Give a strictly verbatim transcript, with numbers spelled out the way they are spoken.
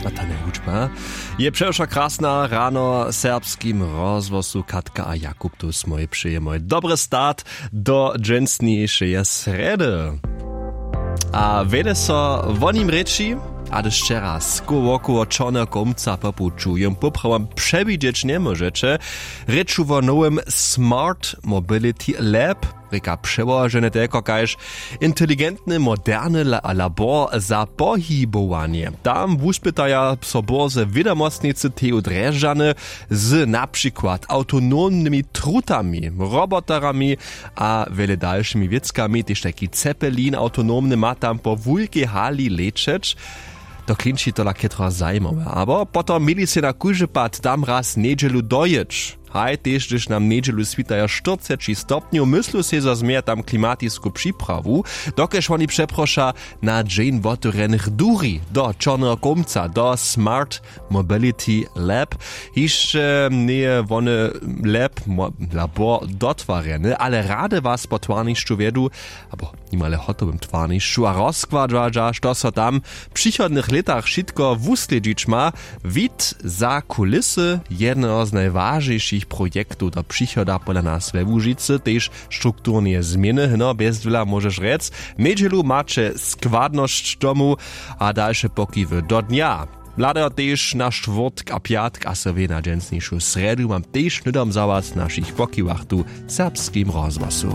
A ta njehučba je přewšo krasna. Rano w serbskim rozhłosu Katka a Jakub tu smoj přejemoj dobry start do dźensnišeje srjedy. A wjele so wo nim rěči, a hdyž wčera skoł wokoło čorneho kołmca popuću jom poprawom přewidźeć njemóžeće. Rěču wo nowym smart mobility lab, rěka přełožene telko kaž inteligentny moderny la- labor za pohibowanje. Tam wuspytaja so bórze wědomostnicy teju drježdźany z na přikład awtonomnymi trutami, roboterami a wjele dalšimi wěckami. Tež tajki cepelin awtonomny ma tam po wulkej hali lećeć. To klinči tola chětro zajimawe, abo potom měli sej na kóždy pad tam raz njedźelu dojěć. Haj, tež hdyž nam njedźelu switajo štyrceći stopnjow, myslu sej zo změja tam klimatisku připrawu, dokelž woni přeproša na dźeń wotewrjenych duri do čorneho kołmca, do smart mobility lab. Hišće njeje wone lab mo- labor dotwarjeny, ale rady was po twarnišću wjedu, abo nimale hotowym twarnišću, a rozkładźa, što so tam w přichodnych lětach wšitko wuslědźić ma. Wid za kulisy jedneho z najwažnišich projektow do přichoda pola nas we łužicy, tež strukturneje změny, hno bjezdwěla móžeš rjec. Njedźelu maće składnosć tomu a dalše pokiwy do dnja. Hladajo tež na štwórtk a pjatk a so wě na dźensnišu srjedu mam tež hnydom za was w našich pokiwach tu w serbskim rozhłosu.